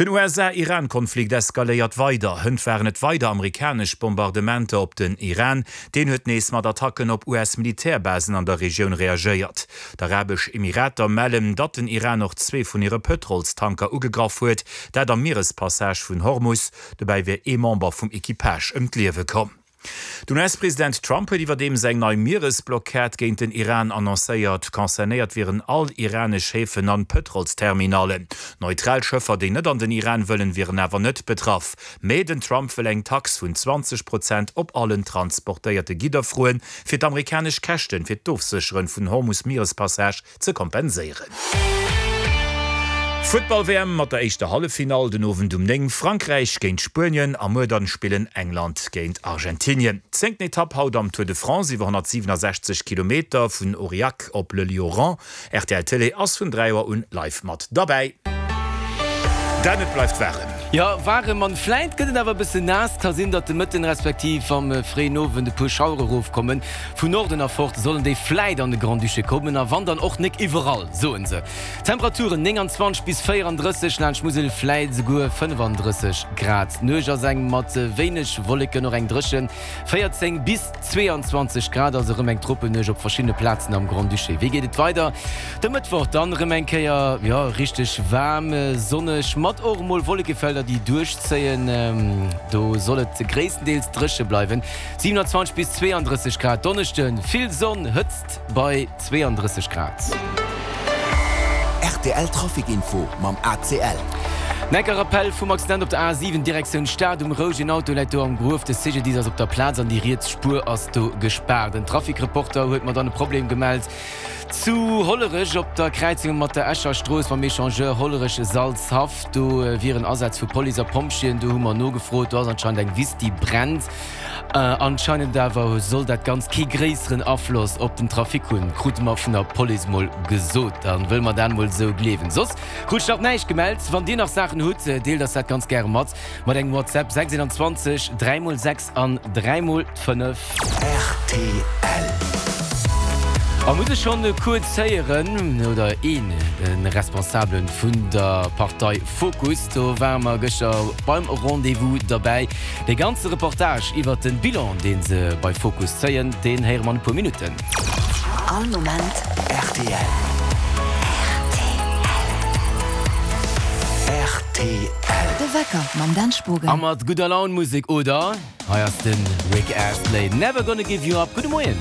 Den USA-Iran-Konflikt eskaléiert weider. Hënt waren et weider amerikanesch Bombardementer op den Iran. Deen huet nees mat Attacken op US-Militärbasen an der Regioun reagéiert. D'Arabesch Emirater mellen, datt den Iran och zwee vun hire Pëtrolstanker ugegraff huet, dat am Mierespassage vun Hormus. Dobäi wier ee Member vum Equipage ëm d'Liewe komm. Den US-President Trump huet iwwerdeems eng nei Mieresblockad géint den Iran annoncéiert. Concernéiert wieren all iranesch Häfen an Pëtrolsterminallen. Neutral Schëffer, déi net an den Iran wëllen, wieren awer net betraff. Mee den Trump wëll eng Tax vun 20 Prozent op allen transportéierte Gidder froen, fir d'amerikanesch Käschten fir d'Ofsécheren vun Hormus-Mierespassage ze kompenséieren. Futtball-WM mat der éischter Halleffinall den Owend um 9, Frankräich géint Spuenien a muer dann spillen England géint Argentinien. Zéngten Etapp haut am Tour de France iwwer 167 Kilometer vun Aurillac op Le Lioran. Rtl Télé ass vun 3 Auer un live mat derbäi. Dan, et bleift waarem. Jo, waarem an vläit gëtt et awer e bëssen naass. Ka sinn, datt de Mëtten respektiv am fréien Owend e puer Schauere rofkommen. Vun Norden erfort sollen déi vläit an de Grand-Duché kommen, a wann dann och nek iwwerall, soen se. Temperaturen 29 bis 34, laanscht Musel vläit esouguer 35 Grad. D'Nuecht ass eng mat wéineg Wolleken, och eng dréchen, 14 bis 22 Grad, also erëm eng Tropennuecht op verschiddene Plazen am Grand-Duché. Wéi geet et weider? De Mëttwoch dann erëm eng Kéier, jo, richteg waarm, sonneg, mat och emol Wollekefelder, déi duerchzéien. Do soll et gréisstendeels dréche bleiwen. 27 bis 32 Grad, Donneschden vill Sonn, Hëtzt bei 32 Grad. Rtl Trafic Info mam ACL. Enker Rappell vum Accident op der A7 Direktioun Stad um Roueg. Een Auto läit do am Gruef. De CGDIS ass op der Plaz an déi riets Spuer ass do gespaart. En Trafic-Reporter huet mer dann e Problem gemellt zu Hollerech op der Kräizung mat der Escher Strooss mam Echangeur Hollerech-Salzhaff. Do wieren Asätz vu Police a Pompjeeën. Do hu mer nogefrot. Do ass anscheinend eng Wiss déi brennt. Anscheinend awer soll dat Ganzt kee gréisseren Afloss op den Trafic hunn, krute mer vun der Police mol gesot. Dann wëlle mer dat mol esou gleewen. Soss krut ech nach näischt gemellt. Wann dir nach Saachen hutt, deelt eis dat ganz gäre mat, mat engem WhatsApp 621 3 mol 6 an 3 mol 5. Rtl. A muss ech schonn kuerz héieren, oder een Responsabelen vun der Partei Fokus, do ware mer gëschter beim Rendez-vous derbäi. Dee ganze Reportage iwwert den Bilan, deen se bei Fokus zéien, deen héiere mer an e puer Minutten. All Moment rtl. Rtl. De Wecker mam Dan Spogen. A mat gudder Laun Musek, oder? Hei ass de Rick Astley, Never Gonna Give You Up. Gudde Moien.